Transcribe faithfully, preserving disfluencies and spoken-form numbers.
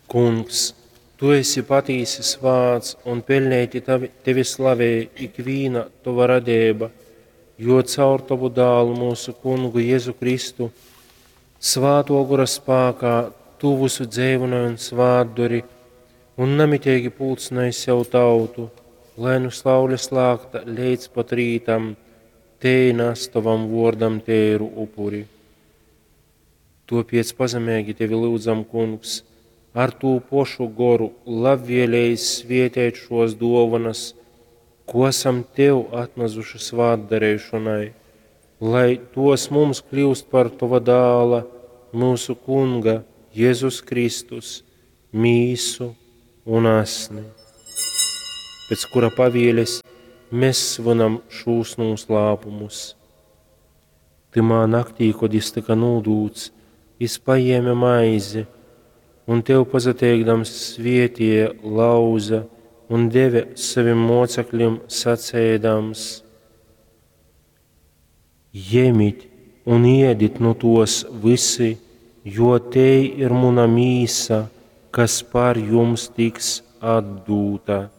Kungs, tu esi patīsi svāts un peļneiti tavi, tevi slavej ikvīna tova radeiba, jo caur tovu dālu mūsu kungu Jēzu Kristu svāto gora spākā tu visu dzeivynoj un svātdori un namiteigi pulcynoj sev tautu, lai nu saules lākta leidz pat rītam tei nas tovam vuordam teiru upuri. Tuopiec pazemeigi tevi lyudzam, kungs, ar tū pošu goru labvēlējis svietēt šos duovanas, ko esam tev atnazuši svātdareišonai, lai tos mums kļūst par tova dāla, mūsu kunga, Jēzus Kristus, mīsu un asni, pēc kura pavieles mēs svinam šūs noslēpumus. Tymā naktī, kod jis tyka nūdūts, jis paēma maizi un tev pasateikdams svietīja, lauza un deve savim mocekļiem sacēdams: Jemit un iedit nu tos visi, jo tei ir muna mīsa, kas par jums tiks atdūta.